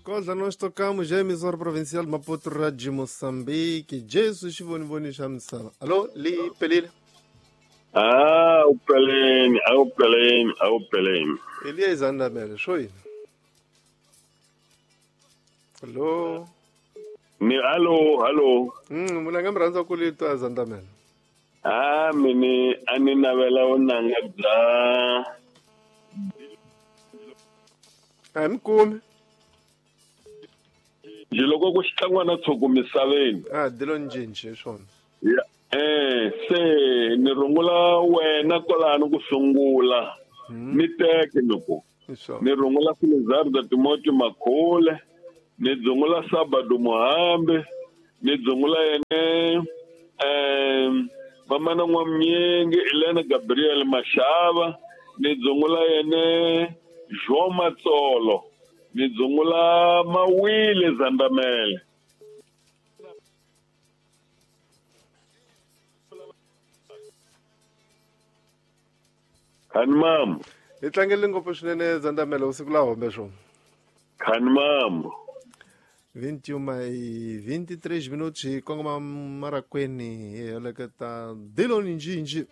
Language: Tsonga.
Xikodla nós tocamos já emissora provincial de Maputo, Rádio Moçambique. Jesus xivonivoni xa misava. Alô, li pelile. Ah, upeleni, awupeleni, awupeleni. Elias Andamele, swo yini? Alô. Ni alo, alo. Muna nga mi rhandza ku li twa Zandamele. Ah, mini a ni navela vunanga bya A hi mi kumi. Njhe loko ku xitlangwana tshuku misaveni. Ah, dilo njinji hi swona. Ya, se ni rungula wena kwalano ku sungula. Ni teke loko. Hi swona. Ni rungula Silizarda Timothy Makhule, ni dzungula Sabado Muhambi, ni dzungula yene Mamana N'wamnyingi, Elena Gabriel Mashava, ni dzungula yene João Matsolo, ni dzungula Mawile Zandamele. Khani mamu. Hi tlangele ngopfu swinene Zandamele usiku la hombe swona. Khani mamu. 21 e 23 minutos hi kongoma marakweni hi heleketa Diloni Njinji.